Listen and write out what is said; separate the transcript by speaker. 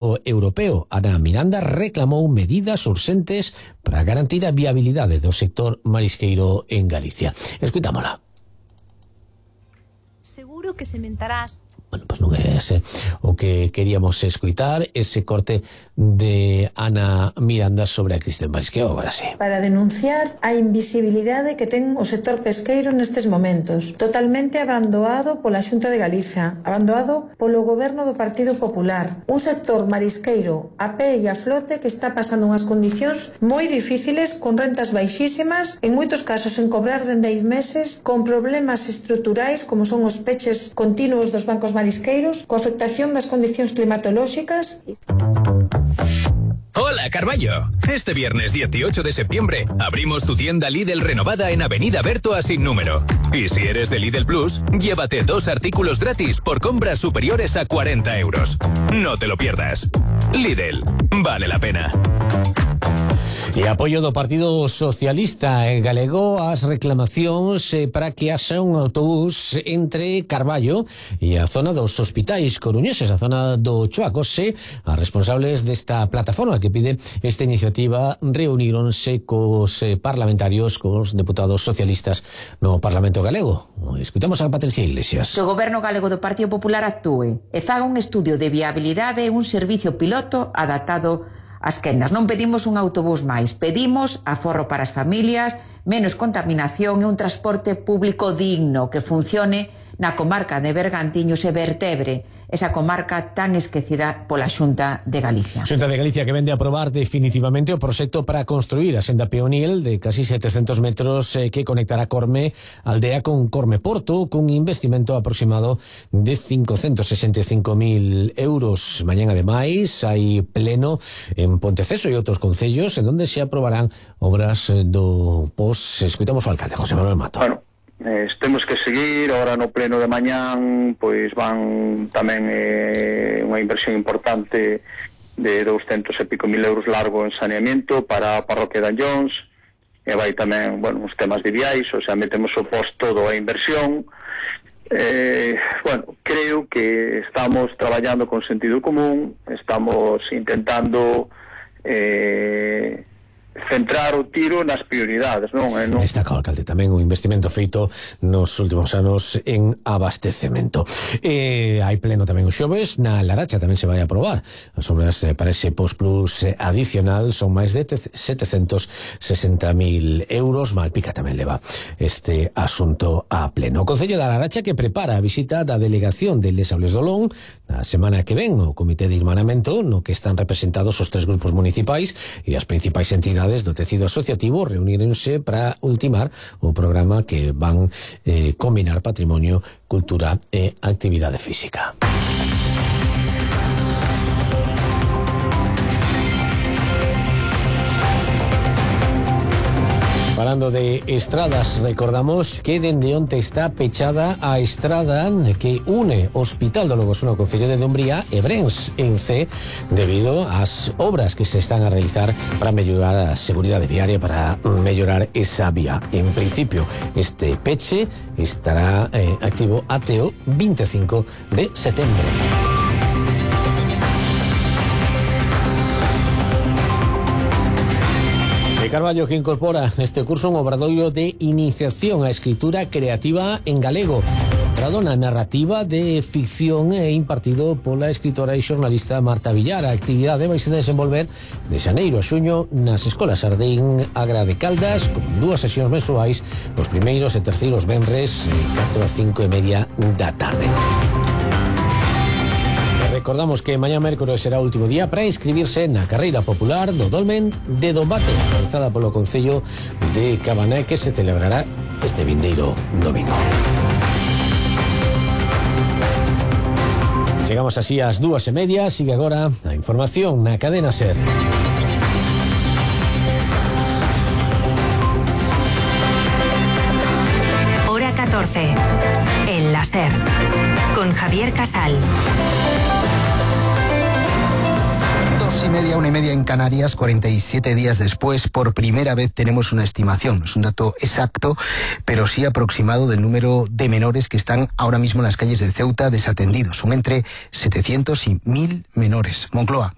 Speaker 1: europeo. Ana Miranda reclamou medidas urxentes para garantir a viabilidade do sector marisqueiro en Galicia. Escutámola.
Speaker 2: Seguro que sementarás.
Speaker 1: Bueno, pues non é ese o que queríamos escutar, ese corte de Ana Miranda sobre a crise do marisqueo. Agora sí.
Speaker 3: Para denunciar a invisibilidade que ten o sector pesqueiro nestes momentos, totalmente abandonado pola Xunta de Galiza, abandonado polo goberno do Partido Popular. Un sector marisqueiro a pé e a flote que está pasando unhas condicións moi difíciles, con rentas baixísimas, en moitos casos en cobrar dende 6 meses, con problemas estruturais como son os peches continuos dos bancos marisqueiros, coa afectación das condicións climatolóxicas.
Speaker 4: Hola, Carballo. Este viernes 18 de septiembre abrimos tu tienda Lidl renovada en Avenida Bertoa sin número. Y si eres de Lidl Plus, llévate 2 artículos gratis por compras superiores a 40 euros. No te lo pierdas. Lidl, vale la pena.
Speaker 1: E apoio do Partido Socialista galego ás reclamacións para que haxa un autobús entre Carballo e a zona dos hospitais coruñeses, a zona do Choacose. As responsables desta plataforma que pide esta iniciativa reuníronse cos parlamentarios, cos deputados socialistas no Parlamento galego. Escutamos a Patricia Iglesias.
Speaker 5: Que o Goberno galego do Partido Popular actúe e faga un estudio de viabilidade e un servicio piloto adaptado as quendas. Non pedimos un autobús máis, pedimos aforro para as familias, menos contaminación e un transporte público digno que funcione na comarca de Bergantiños e vertebre esa comarca tan esquecida pola Xunta de Galicia.
Speaker 1: Xunta de Galicia que vende a aprobar definitivamente o proxecto para construir a senda peonil de casi 700 metros que conectará Corme aldea con Corme Porto, cun investimento aproximado de 565.000 euros. Mañán, ademais, hai pleno en Ponteceso e outros concellos en donde se aprobarán obras do POS. Escuitamos o alcalde, José Manuel Mato.
Speaker 6: Bueno, temos que seguir, ahora no pleno de mañán pois van tamén unha inversión importante de 200 e pico mil euros largo en saneamiento para a parroquia de Anllóns, e vai tamén, bueno, os temas de viais, o sea, metemos o post todo a inversión. Bueno, creo que estamos traballando con sentido común, estamos intentando centrar o tiro nas prioridades, non?
Speaker 1: Destaca o alcalde tamén o investimento feito nos últimos anos en abastecemento. Hai pleno tamén os xoves, na Laracha tamén se vai a aprobar as obras para ese Post Plus adicional, son máis de 760.000 euros. Malpica tamén leva este asunto a pleno. O Concello da Laracha que prepara a visita da delegación de Les Sables do Olón na semana que ven o Comité de Irmanamento, no que están representados os 3 grupos municipais e as principais entidades do tecido asociativo reunirense para ultimar o programa que van combinar patrimonio, cultura e actividade física. Falando de estradas, recordamos que dende onte está pechada a estrada que une Hospital do Logosuno ao Concello de Dumbría e Brens en C debido ás obras que se están a realizar para mellorar a seguridade viaria, para mellorar esa vía. En principio, este peche estará activo até o 25 de setembro. Carballo que incorpora este curso un obradoiro de iniciación á escritura creativa en galego, centrado na narrativa de ficción e impartido pola escritora e xornalista Marta Villar. A actividade vai se desenvolver de xaneiro a xuño nas escolas Ardín, Agra de Caldas, con 2 sesións mensuais, os primeiros e terceiros venres 4 a 5 e media da tarde. Recordamos que mañá mércores será o último día para inscribirse na carreira popular do Dolmen de Dombate, realizada polo Concello de Cabané, que se celebrará este vindeiro domingo. Chegamos así ás 2:30, sigue agora a información na cadena SER.
Speaker 7: Hora 14, en la SER, con Javier Casal.
Speaker 8: 1:30 en Canarias, 47 días después, por primera vez tenemos una estimación. No es un dato exacto, pero sí aproximado del número de menores que están ahora mismo en las calles de Ceuta desatendidos. Son entre 700 y 1000 menores. Moncloa.